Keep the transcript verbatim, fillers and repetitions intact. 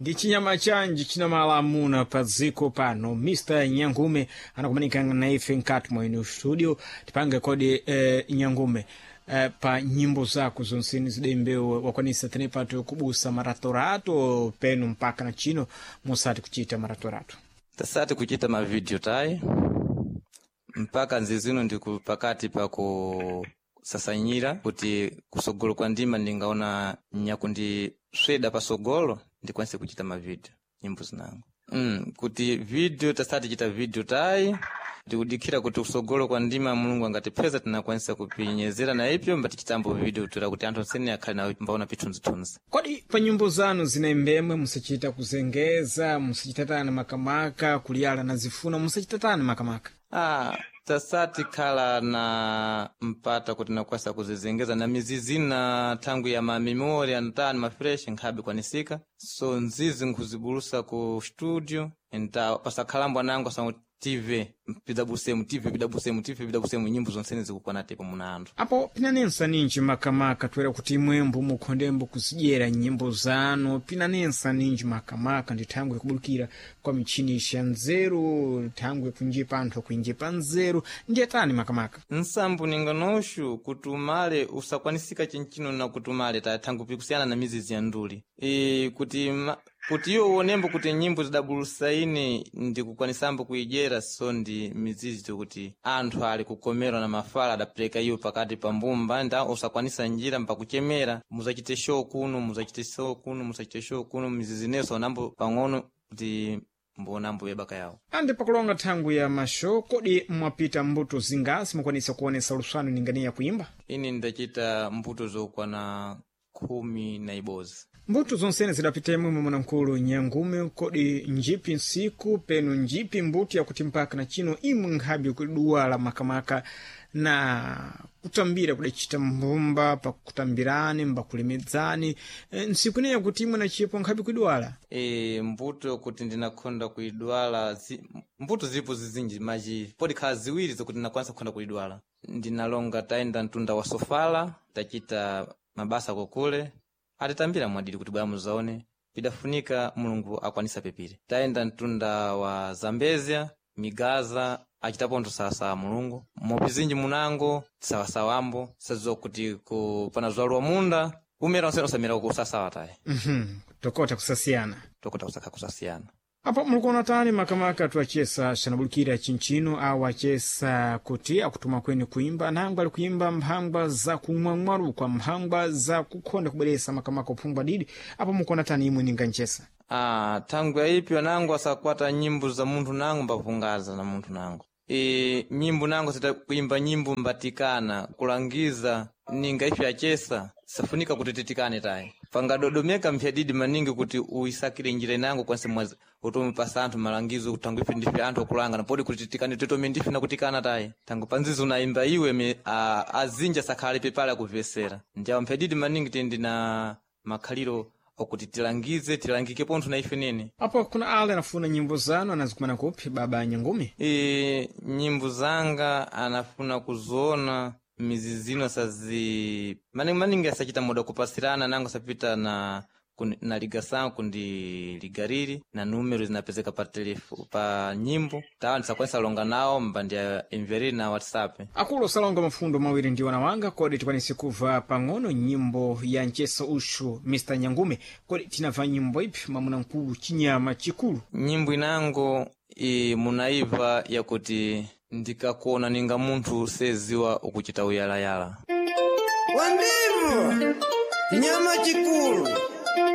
Ndi chinyama chanji chinamala amuna pa dziko pano. Mister Nyangume anakumanika na ife nkati mwa ino studio. Tipange kodi, eh, Nyangume, eh, pa nyimbo zako zonseni zidembewe wakwanisa tenepato kubusa maratorato penu mpaka na chino musati kuchita maratorato? Tasati kuchita mavideo tayi mpaka nzizino ndiku pakati pa kusasanyira kuti kusogolo kwa ndima ndingaona nyakundisweda pasogolo ndikwanise kuchita mavideo nyimbo zinango. Mm, kuti video tasati chita video tayi, ndikudikhira kuti kusogolo kwa ndima Mulungu angatipeza tinakwanisa kupinyezera na ipyo mbatichitambo video toera kuti anthu onsene akhale nawo mbaona pithunzithunzi. Kodi pa nyimbo zanu zinaimbemwe musachita kuzengeza, musachitatani makamaka kuliyala na zifuna, musachitatani makamaka? Ah, tasati khala na mpata kuti nakwasa kuzizengeza na mizizi na thangwi ya mamemori antani mafresh nkhabe kwanisika, so nzizi nkhuzibulusa ku studio nta pasakhalambwa nango sa T V pidabusemu T V pidabusemu T V pidabusemu nyimbo zonsene zikukwana tepo muna anthu. Apo pinanensa ninji makamaka toera kuti imwembo mukhondembo kuzidyera nyimbo zanu, pinanensa ninji makamaka ndi thangwe kubulukira kwa michini ya nzeru, thangwe kunjipa anthu akuinjipa nzeru, ndiye tani makamaka? Nsambu ninganoshu kuti umale usakwanisika chinchino na kuti umale ta thangwi pikusiyana na mizizi ya nduli e, kuti ma, kuti iwo uonembo kuti nyimbo zidabulusa ine ndikukwanisambo kuidyera, so ndi mizizi tokuti anthu ali kukomerwa na mafala adapereka iwo pakati pa mbumba nda usakwanisa njira mpakuchemera muzachite show kuno, muzachite show kuno, muzachite show kuno, mizizi neso onambo pang'ono kuti mbonambo yebaka yawo. Andi pakulonga thangwi ya mashow, kodi mwapita mbuto zingasi mukwanisa kuonesa luswano ninganiya kuimba? Ine ndachita mbuto zokwana khumi na ibozi. Mbuto zonsene zidapitemwe mwanamkulu Nyangume, kodi njipi nsiku penu njipi mbuto yakuti mpaka na chino imwe nkhabe kuduwala makamaka na kutambira kudacita mbumba pakutambirani mbakulemedzani, e, nsiku ineyo kuti imwe na chipo nkhabe kuidwala? E, mbuto kuti ndinakhonda kuidwala zi, mbuto zilipo zizinji maji podi khala ziwiri zokuti ndinakwanisa kukhonda kuidwala. Ndinalonga tayenda mtunda wa Sofala, tachita mabasa kokule atitambira mwadiri kuti bwera muzaone pidafunika Mulungu akwanisa pepire. Tayenda mtunda wa Zambezia Migaza achitapo nthu sawasawa Mulungu mopizinji munango sawasawambo sadziwa kuti ku panazwaluwa munda umera onsene usamera kusasawa tayi. mm-hmm. Tokota kusasiyana. Tokota kusakha kusasiyana. Apo mulikuona tani makamaka tuachesa xanabulukira chinchino awo achesa kuti akutuma kweni kuimba nangwa ali kuimba mphangwa za kumwamwarukwa, mphangwa za kukhonda kubweresa makamaka uphungwa didi, apo mukuona tani imwe ninga nchesa? Ah, thangwi aipyo nango asakwata nyimbo za munthu nango mbapungaza na munthu nango e, nyimbo nango sita kuimba nyimbo mbatikana kulangiza ninga ipyo achesa safunika kuti titikane tayi pangadodomeka mphyadidi maningi kuti uisakire njira inango kwanse mwazi utomupasa anthu malangizo kuti ife ndife anthu okulanga napodi kuti titikane titome ndife nakutikana tayi tangu panzizo unaimba iwe me, a, azinja sakhale pepale akuvesera ndiawo mphyadidi maningi tindi na makhaliro okuti tilangize tilangike pontho na ife nene. Apo kuna ale anafuna nyimbo zanu anazikumana kupi baba Nyangume? E, nyimbo zanga anafuna kuziona mizizino sazi maningi maningi asachita muda kupasirana nango sapita na na ligasango kundi ligariri na numero zinapezeka pa telefo pa nyimbo tawa ndisakwanisa longa nawo mbandi imveriri na WhatsApp. Akulu osalonga mafundo mawiri ndi wanawanga, kodi tikwanise kuva pang'ono nyimbo ya ncheso ushu Mister Nyangume? Kodi tinamva nyimbo ipi mwamuna mkulu chinyama chikulu? Nyimbo inango i munaiva yakuti ndikakuona ninga munthu seziwa ukuchita uyalayala. Wandimo chinyama chikulu.